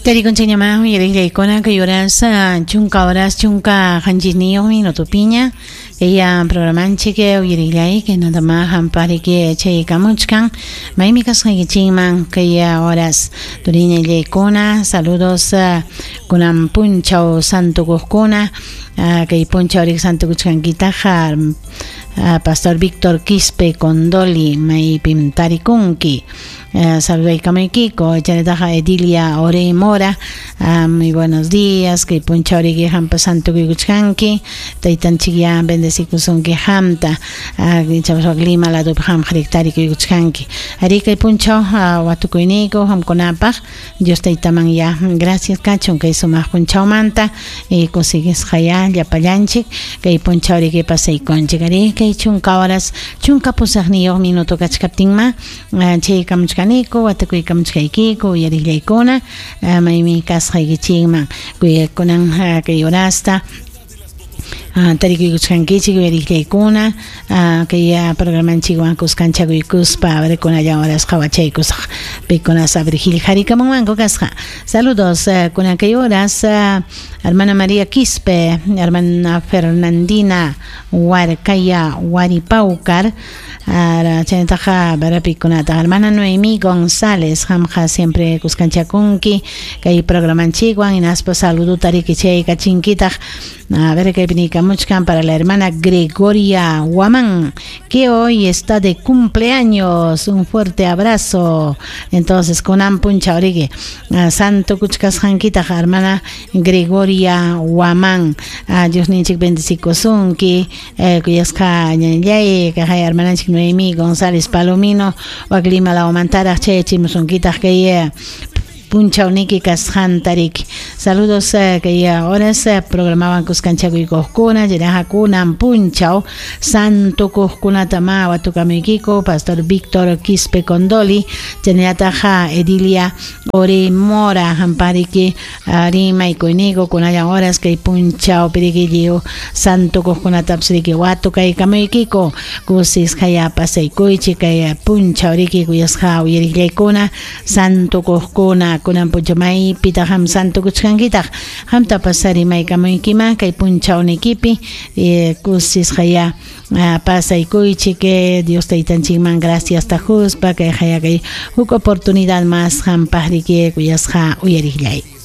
Tarikunchikñamá uyariqllaykuna kay horas chunka horas chunka qanchisniyuq minutopiña kaya programanchik uyariqllay kaynatama hampariki chaykamuchkan maymi kasqaykichikman kay horas turiñallaykuna saludos kunan punchaw santukuqkuna kay punchaw rik santukuchkankitaqa Pastor Víctor Quispe Condoli maypim tarikunki. Saludaykamuykiko chaynataqa Edilia Orey Mora muy buenos días kay punchawriki qampa santukuykuchkanki taytanchikyá bendecikusunki qamta ichapas Lima ladopi qamqa tarikuykuchkanki arí kay punchaw watukuyniyku qamkunapaq Dios taytaman ya gracias kachun kay sumaq punchawmanta kusisqayá llapallanchik kay punchawriki pasaykunchik arí kay chunka horas 18 minuto kachkaptinma chaykamuchkaniku watukuykamuchkaykiku uyariqllaykuna maymi kasqaykichikman kunan kay horasta tarikuykuchkankichik uyariqllaykuna kay programanchikwan kuskanchakuykuspa kunallan horas qhawachaykusaq pikunas Abrigil harikamunmanku kasqa saludos kunan kay horas hermana María Quispe hermana Fernandina Huarcaya Huaripaucar chaynataqa barapikunata hermana Noemí González qamqa siempre kuskanchakunki kay programanchikwan hinaspa saludo riki chaykachinkitaq a ver kaypi niykamuchkan para la hermana Gregoria Guamán que hoy está de cumpleaños un fuerte abrazo entonces kunan punchawriki santo kuchkasqankitaq hermana Gregoria Guamán Diosninchik bendecikusunki kuyasqa ñañallay kaqay hermananchik Noemí González Palomino wak Lima lawmantaraq chayachimusunkitaq kay punchawniki kasqantariki saludos kay horas programawan kuskanchakuykuqkuna chaynaqa kunan punchaw santukuqkunatama watukamuykiku Pastor Víctor Quispe Condoli chaynallataq Edilia Ore Mora hampariki rimaykuyniku kunallan horas kay punchawpiriki lliw santukuqkunatapas riki watukaykamuykiku kusisqaya pasaykuychik kay punchawriki kuyasqa uyariqllaykuna santukuqkuna kunan punchaw maypitaq qam santukuchkankitaq qamtapas rimaykamuykima kay punchawnikipi kusisqaya pasaykuychik Dios taytanchikman gracias tajuspa kay haya kay huk oportunidad más qampaq riki kuyasqa uyariqllay.